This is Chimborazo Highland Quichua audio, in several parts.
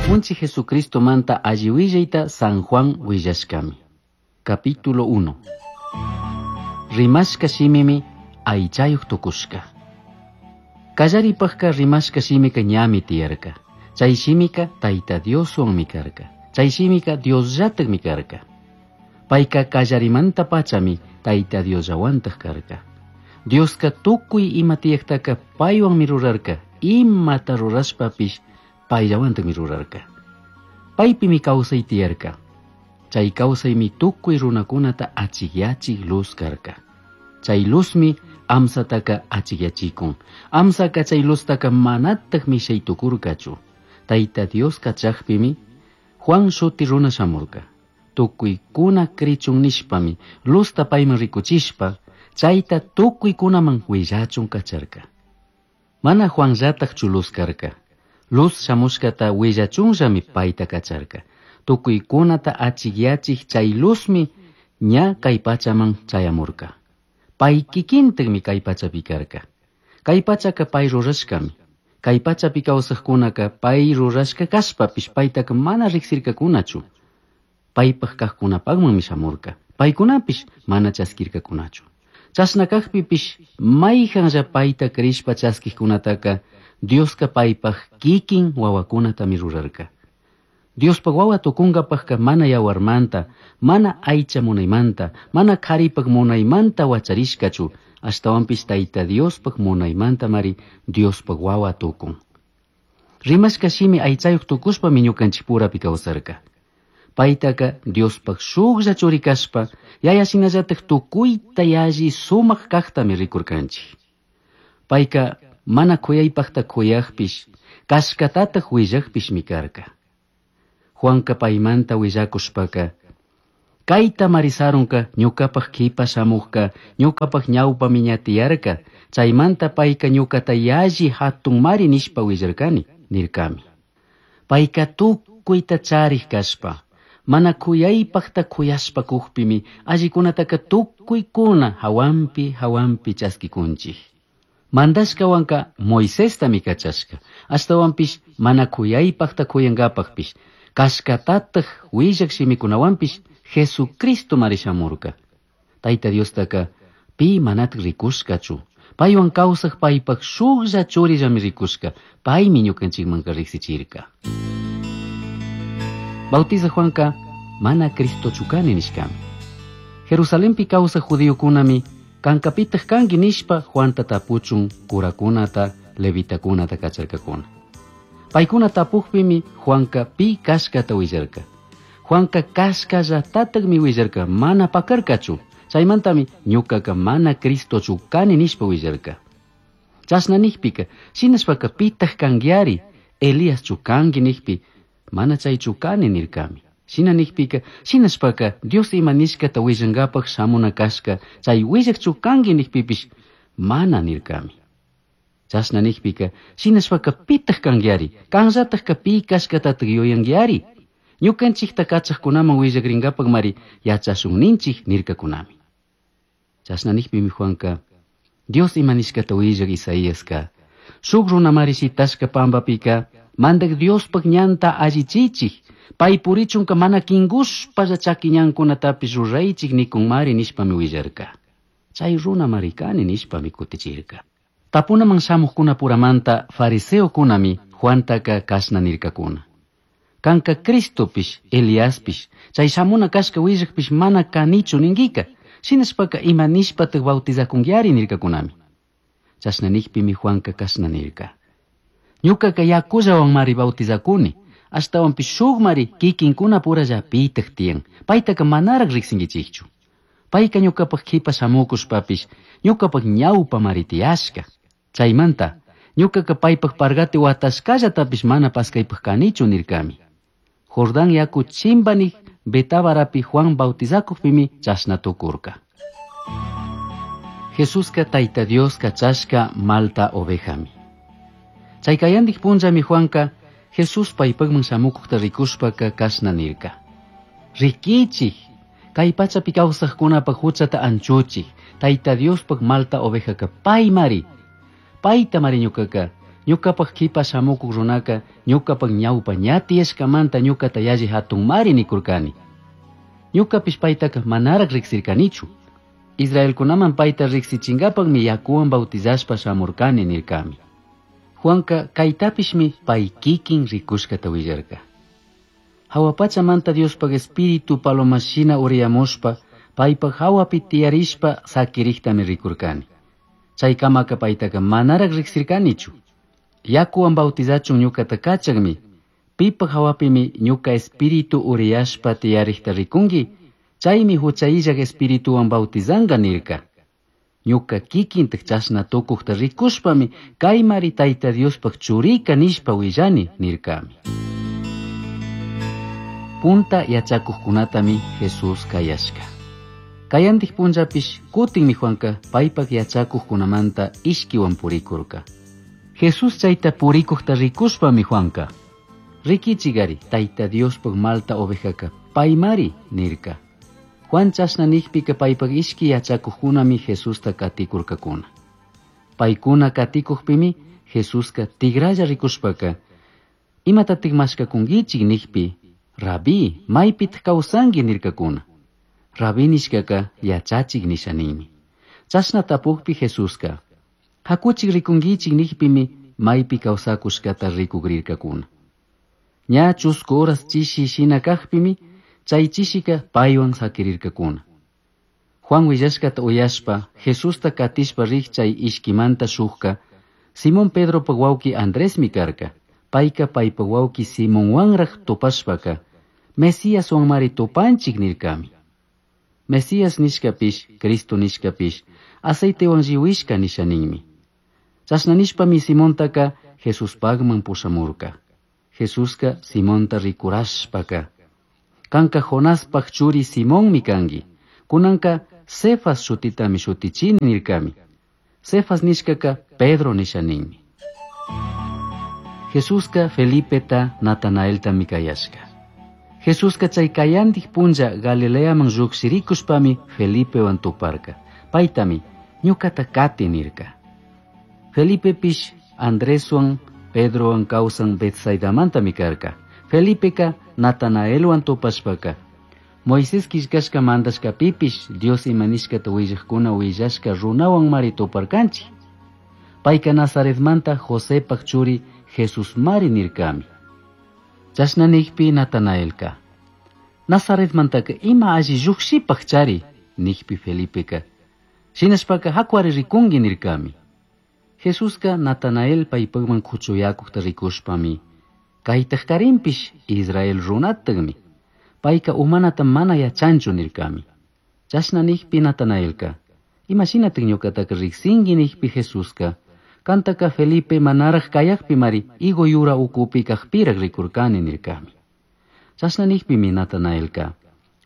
Apunchij Jesucristomanta alli willayta San Juan willashkami. Capítulo 1. Rimashka shimimi aychayuq tukushka. Kallaripajka rimashka shimika ñami tiyarka. Chay shimika Tayta Dioswanmi karka. Chay shimika Diosllatakmi karka. Payka kallarimanta pachami Tayta Diosllawantaq karka. Dioska tukuy ima tiyaqtaka paywanmi rurarka. Imata rurashpapish payllawantaqmi rurarka. Paypimi kawsay tiyarka. Chay kawsaymi tukuy runakunata achikyachik luz karka. Chay luzmi amsataka achikyachikun. Amsaka chay luztaka manataq mishay tukurkachu. Tayta Dios kachaqpimi Juan shuti runa shamurka. Tukuykuna krichun nishpami luzta payman rikuchishpa chayta tukuykunaman willachun kacharka. Mana Juanllataqchu luz karka. Luz shamushkata willachunllami payta kacharka. Tukuykunata achikyachik chay luzmi ña kay pachaman chayamurka. Pay kikintakmi kay pachapi karka. Kay pachaka pay rurashkami. Kay pachapi kawsaqkunaka pay rurashka kashpapish paytaka mana riqsirkakunachu. Paypaq kaqkunapaqmanmi shamurka. Paykunapish mana chaskirkakunachu. Chashna kaqpipish mayqanlla payta crishpa chaskiqkunataka Dioska paypaq kikin wawakunatami rurarka. Diospaq wawa tukunkapaqka mana yawarmanta, mana aycha munaymanta, mana qharipaq munaymanta wacharishkachu, ashtawanpish Tayta Diospaq munaymantamari Diospaq wawa tukun. Rimashka shimi aychayuq tukushpami ñukanchikpurapi kawsarka. Paytaka Diospaq shuklla churi kashpa, yaya shinallatak tukuyta yalli sumaq kaqtami rikurkanchik. Payka mana kuyaypaqta kuyaqpish, kashkatataq willaqpishmi karka. Juanka paymanta willakushpaka, kayta marisarunka ñuqapaq qipa shamuqka, ñuqapaq ñawpami ña tiyarka, chaymanta payka ñuqata yalli hatunmari nishpa willarkani, nirkami. Payka tukuyta charik kashpa, mana kuyaypaqta kuyashpa kuqpimi allikunataka tukuykuna hawanpi hawanpi chaskikunchik. Mandashkawanka Moisestami kachashka, ashtawanpish mana kuyaypaqta kuyankapaqpish, kashkatataq willaq shimikunawanpish Jesucristo mari shamurka. Tayta Diostaka pi manataq rikushkachu. Paywan kawsaq paypaq shuklla churillami rikushka, paymi ñukanchikmanka riqsichirka. Bautizaq Juanka mana Cristochu kani nishkami. Jerusalenpi kawsaq judiokunami kankapitaq kanki nishpa Juanta tapuchun kurakunata, levitakunata kacharkakuna. Paykuna tapuqpimi Juanka pi kashkata willarka. Juanka kashkallatataqmi willarka, mana pakarkachu. Chaymantami ñuqaka mana Cristochu kani nishpa willarka. Chashna niqpika, shinashpaka pitaq kankiari, Eliaschu kanki niqpi, mana chaychu kani nirkami. Shina niqpika, shinashpaka Dios ima nishkata willankapaq shamuna kashka, chay willaqchu kanki niqpipish, mana nirkami. Chashna niqpika, shinashpaka pitaq kankiari, kanllataqka pi kashkatataq yuyankiari. Ñukanchikta kachaqkunaman willakrinkapaqmari yachashunninchik nirkakunami. Chashna niqpimi Juanka, Dios ima nishkata willaq Isaíaska, shuk runamari shitashka pampapika, mandaq Diospaq ñanta allichichik, pay purichunka mana kinkushpalla chaki ñankunatapish ruraychik nikunmari nishpami willarka. Chay runamari kani nishpami kutichirka. Tapunaman shamuqkunapuramanta fariseokunami Juantaka kashna nirkakuna. Kanka Cristopish, Eliaspish, chay shamuna kashka willaqpish mana kanichu ninkika, shinashpaka ima nishpataq bautizakunkiari nirkakunami. Chashna niqpimi Juanka kashna nirka. Ñuqaka yakullawanmari bautizakuni, ashtawanpish shukmari kikinkunapurallapitaq tiyan, paytaka manaraq riqsinkichikchu. Payka ñuqapaq qipa shamukushpapish, ñuqapaq ñawpamari tiyashka. Chaymanta, ñuqaka paypaq pargati watashkallatapish mana paskaypaq kanichu nirkami. Jordán yaku chimbanik Betabarapi Juan bautizakuqpimi chashna tukurka. Jesuska Tayta Dios kachashka malta ovejami. Chay kayandik punllami Juanka Jesús paypaqman shamukuqta rikushpaka kashna nirka. Rikichik, kay pachapi kawsaqkunapaq huchata anchuchik, Tayta Diospaq malta ovejaka paymari. Payta mari ñuqaka Ñuqapaq qipa shamukuq runaqa ñuqapaq ñawpa ña tiyashkamanta ñuqata yalli hatunmari nikurkani. Ñuqapish paytaqa manaraq riqsirkanichu. Israelkunaman payta riqsichinkapaqmi yakuwan bautizashpa shamurkani nirkami. Juanka kaytapishmi pay kikin rikushkata willarka. Hawa pachamanta Diospaq espíritu palomashina uriyamushpa paypaq hawapi tiyarishpa sakiriqtami rikurkani. Chaykamaka paytaqa manaraq riqsirkanichu. Yakuwan bautizachun ñuqata kachaqmi, pipaq hawapimi ñuqa espíritu uriyashpa tiyariqta rikunki, chaymi hucha illaq espirituwan bautizanqa nirka. Ñuqa kikintaq chashna tukuqta rikushpami kaymari Tayta Diospaq churika nishpa willani nirkami. Punta yachakuqkunatami Jesús kayashka. Kayantik punllapish kutinmi Juanka paypaq yachakuqkunamanta ishkiwan purikurka. Jesús chayta purikuqta rikushpami Juanka, rikichigari Tayta Diospaq malta ovejaka paymari nirka. Juan chashna nikpika paypaq ishki yachakuqkunami Jesusta katikurkakuna. Paykuna katikuqpimi Jesuska tigralla rikushpaka, imatatik mashkakunkichik nikpi, Rabí, maypitaq kawsanki nirkakuna. Rabí nishkaka yachachik nisha ninmi. Chashna tapukpi Jesuska, hakuchik rikunkichik nikpimi maypi kawsakushkata rikukrirkakuna. Ña chusku horas chishi shina kaqpimi, chay chishika paywan sakirirkakuna. Juan willashkata uyashpa, Jesusta katishpa riq chay ishkimanta shukka, Simón Pedropaq wawqi Andresmi karka. Payka paypaq wawqi Simonwanraq tupashpaka, Mesíaswanmari tupanchik nirkami. Mesías nishkapish, Cristo nishkapish, aceitewan lliwishka nisha ninmi. Chashna nishpami Simontaka Jesuspaqman pushamurka. Jesuska Simonta rikurashpaka, kanka Jonaspaq churi Simonmi kanki, kunanka Cefas shutitami shutichini nirkami. Cefas nishkaka Pedro nisha ninmi. Jesuska Felipeta Natanaeltami kayashka. Jesuska chay kayantik punlla Galileaman lluqshirikushpami Felipewan tuparka. Paytami ñuqata kati nirka. Felipepish Andreswan Pedrowan kawsan Betsaidamantami karka. Felipeka Natanaelwan tupashpaka, Moisés killkashka mandashkapipish Dios ima nishkata willaqkuna willashka runawan mari tuparkanchik. Payka Nazaretmanta Josepaq churi Jesús mari nirkami. Chashna nikpi Natanaelka, Nazaretmantaka ima alli lluqshipaq chari, nikpi Felipeka, shinashpaka hakuari rikunki nirkami. Jesuska Natanael paypaqman kuchuyakuqta rikushpami, kaytaq karinpish Israel runataqmi, payka umanata mana yachanchu nirkami. Chashna nikpi Natanaelka, imashinataq ñuqataka riqsinki nikpi Jesuska, kantaka Felipe manaraq kayaqpi mari higo yura ukupi kaqpiraq rikurkani nirkami. Chashna nikpimi Natanaelka,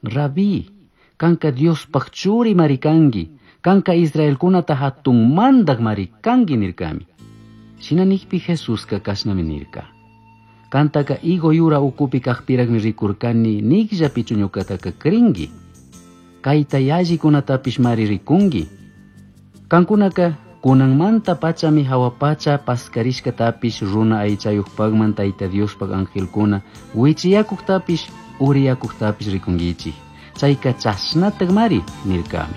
Rabí, kanka Diospaq churi mari kanki, kanka Israelkunata hatun mandaq mari kanki nirkami. Shina nikpi Jesuska kashnami nirka. Kantaka higo yura ukupi kaqpiraqmi rikurkani nikllapichu ñuqataka crinki. Kayta yallikunatapish mari rikunki. Kankunaka kunanmanta pachami hawa pacha paskarishkatapish runa aychayuqpaqman Tayta Diospaq angelkuna wichiyakuqtapish uriyakuqtapish rikunkichik. Chayka chashnataq mari nirkami.